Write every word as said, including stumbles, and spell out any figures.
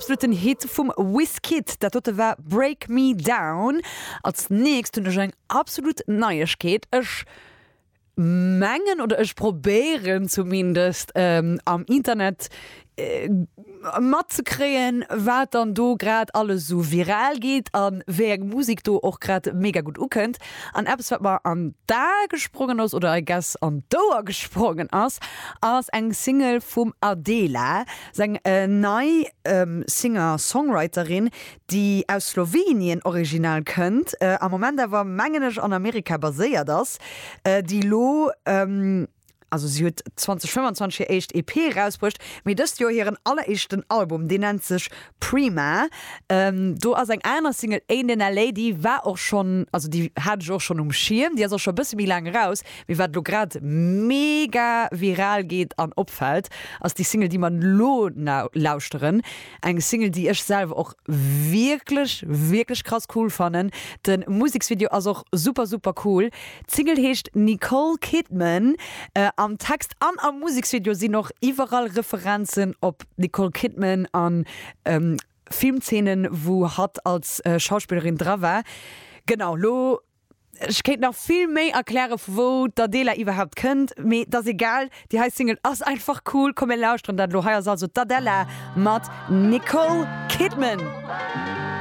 Absoluten Hit vum Wizkid, dat dote war Break Me Down. Als nächst hunn ech eng absolut Neiegkeet. Ech mengen oder ech probéieren zumindest ähm, am Internet äh, matzekréien, wat dann do grad alles sou viral geet an wéi eng Musek do och grad mega gutt ukënnt. An eppes wat mer an d'A gesprongen ass oder I guess an d'Ouer gesprongen ass, ass eng Single vum Adela, seng äh, nei ähm, Singer-Songwriterin, déi aus Slowenien original kënnt, äh, am Moment awer mengen ech an Amerika baséiert ass, äh, déi lo ähm, also si huet zweedausendfënnefenzwanzeg hir éischt E P rausbruecht, mee dëst Joer hiren alleréischten Album, deen nennt sech Prima. Ähm, do ass eng aner Single Ain't in L A, déi war och schonn, also déi hat ech och schonn um Schierm, déi ass och scho e bësse méi laang eraus, mee wat elo grad mega viral geet an opfält, ass déi Single, déi mer elo lauschteren. Eng Single, déi ech selwer och wierklech, wierklech krass cool fannen. De Museksvideo ass och super, super cool. D'Single heescht Nicole Kidman. Am Text an am Museksvideo sinn och iwwerall Referenzen op d'Nicole Kidman an Filmzeenen, wou hatt als Schauspillerin dra war. Genau, lo, ech kéint nach vill méi erkläre vu wou d'Adela iwwerhaapt kënnt, mee et ass egal, déi hei Single ass einfach cool. Komm mir lauschteren dat elo. Hei ass also d'Adela mat Nicole Kidman.